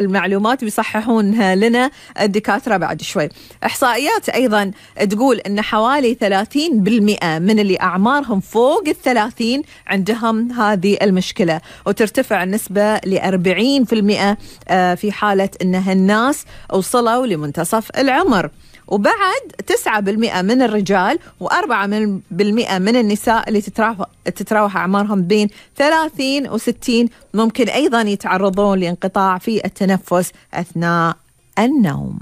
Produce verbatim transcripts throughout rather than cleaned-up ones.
المعلومات بيصححونها لنا الدكاترة بعد شوي. إحصائيات أيضا تقول أن حوالي ثلاثين بالمئة من اللي أعمارهم فوق الثلاثين عندهم هذه المشكلة، وترتفع النسبة لأربعين بالمئة في حالة أنها الناس وصلوا لمنتصف العمر. وبعد تسعة بالمئة من الرجال وأربعة بالمئة من النساء اللي تتراوح, تتراوح أعمارهم بين ثلاثين وستين ممكن أيضا يتعرضون لانقطاع في التنفس أثناء النوم.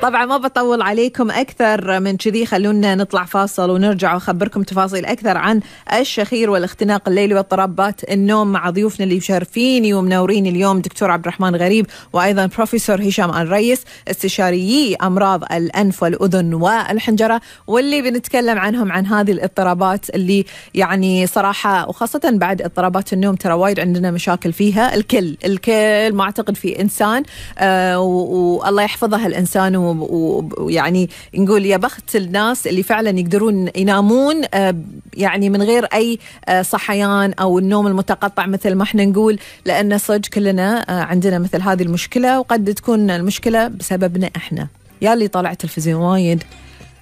طبعا ما بطول عليكم أكثر من كذي، خلونا نطلع فاصل ونرجع وأخبركم تفاصيل أكثر عن الشخير والاختناق الليلي واضطرابات النوم مع ضيوفنا اللي مشرفيني ومنورين اليوم، دكتور عبد الرحمن غريب وأيضا بروفيسور هشام الريس، استشاريي أمراض الأنف والأذن والحنجرة، واللي بنتكلم عنهم عن هذه الاضطرابات اللي يعني صراحة وخاصة بعد اضطرابات النوم ترى وايد عندنا مشاكل فيها. الكل الكل ما أعتقد في إنسان آه والله يحفظها الإنسان ويعني نقول يا بخت الناس اللي فعلا يقدرون ينامون يعني من غير أي صحيان أو النوم المتقطع مثل ما احنا نقول، لأن صدق كلنا عندنا مثل هذه المشكلة، وقد تكون المشكلة بسببنا احنا. يا اللي طالع تلفزيون وايد،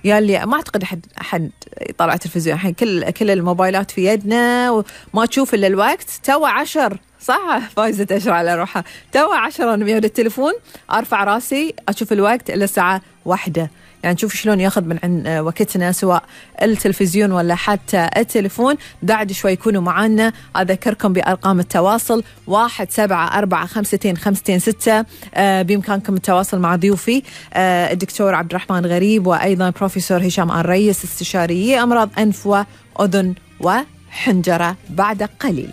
يا اللي ما أعتقد أحد أحد يطلع تلفزيون الحين، كل كل الموبايلات في يدنا وما تشوف إلا الوقت. تو عشر صح فايزة تشرع على روحها، تو عشرة أنا بيد التليفون أرفع راسي أشوف الوقت إلا الساعة واحدة. يعني نشوف شلون ياخذ من عن وقتنا سواء التلفزيون ولا حتى التليفون. بعد شوي يكونوا معنا، أذكركم بأرقام التواصل واحد سبعة أربعة خمستين خمستين ستة. آه بإمكانكم التواصل مع ضيوفي آه الدكتور عبد الرحمن غريب وأيضا بروفيسور هشام الريس، استشاري أمراض أنف وأذن وحنجرة بعد قليل.